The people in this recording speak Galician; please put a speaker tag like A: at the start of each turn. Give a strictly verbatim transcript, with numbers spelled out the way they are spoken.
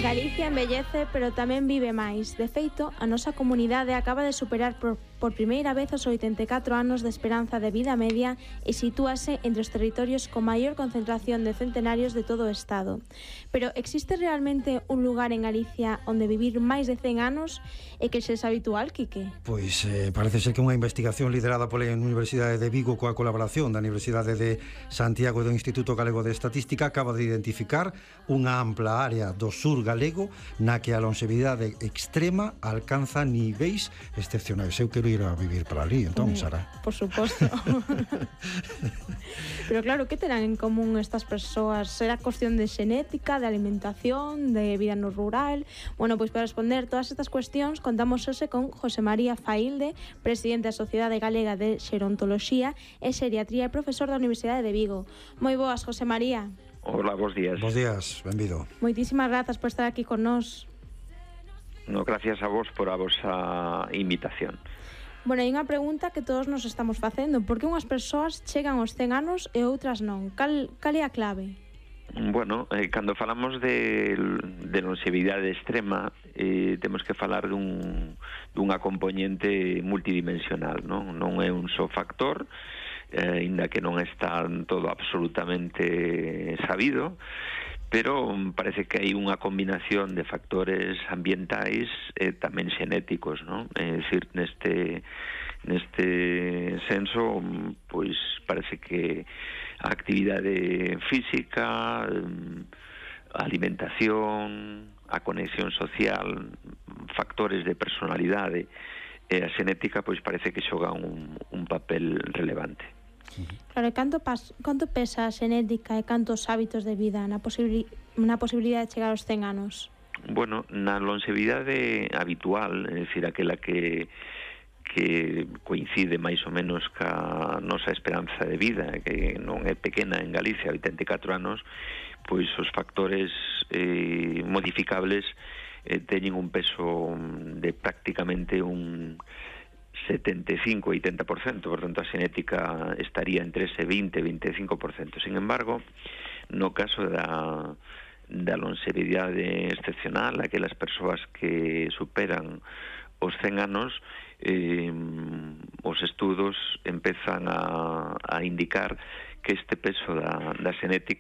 A: Galicia envellece, pero tamén vive máis. De feito, a nosa comunidade acaba de superar por, por primeira vez os oitenta e catro anos de esperanza de vida media e sitúase entre os territorios con maior concentración de centenarios de todo o Estado. Pero existe realmente un lugar en Galicia onde vivir máis de cen anos e que xa é habitual, Quique?
B: Pois eh, parece ser que unha investigación liderada pola Universidade de Vigo coa colaboración da Universidade de Santiago e do Instituto Galego de Estatística acaba de identificar unha ampla área do sur galego na que a longevidade extrema alcanza niveis excepcionais. Eu quero ir a vivir para ali, entón, Sara.
A: Por suposto. Pero claro, que terán en común estas persoas? Será cuestión de xenética, de alimentación, de vida no rural? Bueno, pois para responder todas estas cuestións contamos hoxe con José María Faílde, presidente da Sociedade Galega de Xerontoloxía e Xeriatría e profesor da Universidade de Vigo. Moi boas, José María.
C: Hola, bons días.
B: Bons días, benvido.
A: Moitísimas grazas por estar aquí con nós.
C: No, gracias a vos por a vosa invitación.
A: Bueno, hai unha pregunta que todos nos estamos facendo. Por que unhas persoas chegan aos cen anos e outras non? Cal, cal é a clave?
C: Bueno, eh, cando falamos de, de longevidade extrema, eh, temos que falar dun, dunha componente multidimensional, non? Non é un só factor, eh, inda que non está todo absolutamente sabido, pero parece que hai unha combinación de factores ambientais e tamén xenéticos, non? É dicir, neste neste senso, pois parece que a actividade física, a alimentación, a conexión social, factores de personalidade e a xenética, pois parece que xogan un, un papel relevante.
A: Claro, e canto, pas, canto pesa a xenética e cantos hábitos de vida na, posibili, na posibilidade de chegar aos cen anos?
C: Bueno, na longevidade habitual, é dicir, aquela que que coincide máis ou menos ca nosa esperanza de vida, que non é pequena en Galicia, oitenta e catro anos, pois os factores eh, modificables eh, teñen un peso de prácticamente un setenta e cinco a oitenta por cento, por tanto a xenética estaría entre ese vinte e vinte e cinco por cento. Sin embargo, no caso da, da longevidade excepcional, aquelas persoas que superan os cen anos, eh, os estudos empezan a, a indicar que este peso da, da xenética